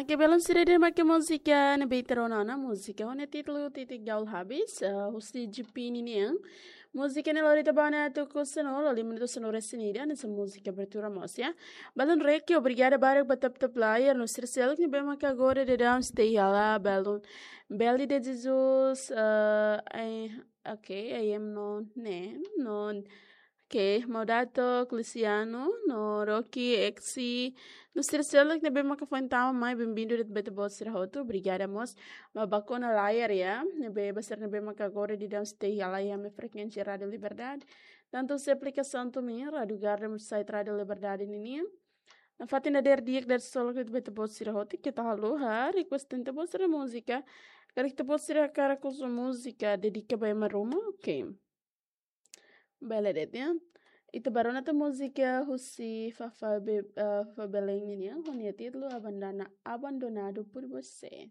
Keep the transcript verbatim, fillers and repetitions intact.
Oke, belun sira, ida-ne'e mak múzika ne'ebé ita rona ona, múzika ho nia títulu Titik Gaul Habis, eh, husi G P ninian. Múzika ne'e lori ita ba ona atu ku sanulu, lima minutu sanulu-resin-ida, hanesan múzika abertura mós, ya. Belun Reki, obrigada barak ba tap-tap layar, no sira seluk ne'ebé maka agora daudaun sei iha hela, belun Beli de Jesus, eh, ai, oke, I am no, ne'e, no, oke, Maudato, Luciano, no Rocky, Exi, no sira seluk ne'ebé maka foin tama mai, bem-vindo de'it ba ita-boot sira hotu, obrigada mós ba baku ona layar, ya, ne'ebé ba sira ne'ebé maka agora daudaun sei iha hela iha ami-nia frekuénsia Rádio Liberdade. Tantu husi aplikasaun Tumin, Rádio Garden, site Rádio Liberdade ninian. Nafatin dadeer di'ak, dadeer solok de'it ba ita-boot sira hotu, keta haluha request ita-boot sira múzika. Karik ita-boot sira hakarak husu múzika dedika ba ema ruma, oke. Bele de'it, ya. Ita bá rona tan múzika husi Fafá Be-, eh, Fafá Belém ninian, ho nia títulu Abandona, Abandonado por Você.